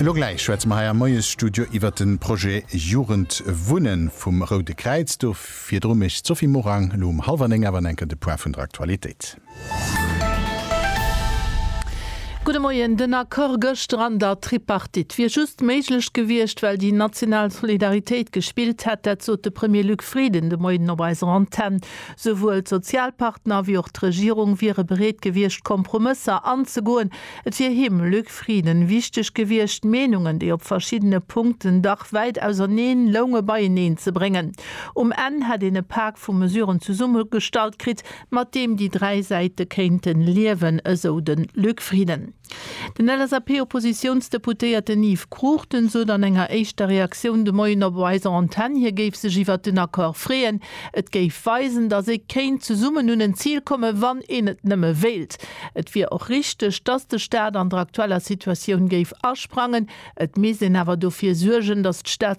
Elo gläich schwätze mer hei am Moiesstudio iwwert de Projet Jugendwunnen vum Roude Kräiz. Do virdru mécht d'Sophie Morang elo um hallwer 9 awer enker de Point vun der Aktualitéit. Gudde Moien. Den Accord gëschter an der Tripartite wier just méiglech gewiescht, well déi national Solidaritéit gespillt hätt. Dat sot de Premier Luc Frieden de Moien op eiser Antenn. Souwuel d'Sozialpartner wéi och d'Regierung wiere bereet gewiescht, Kompromësser anzegoen. Et wier him, Luc Frieden, wichteg gewiescht, d'Meenungen, déi op verschiddene Punkten dach wäit auserneen lounge, beieneen ze bréngen. Um Enn hätt een e Pak vu Mesuren zesummegestallt kritt, mat deem déi 3 Säite kéinten liewen, esou de Luc Frieden. Den LSAP-Oppositiounsdeputéierten Yves Cruchten sot an enger éischter Reaktioun de Moien op eiser Antenn, hie géif sech iwwert den Accord freeën. Et géif weisen, datt ee kéint zesummen un en Zil kommen, wann een et nëmme wéilt. Et wier och richteg, datt de Staat an der aktueller Situatioun géif asprangen. Et misst een awer dofir suergen, datt d'Stad.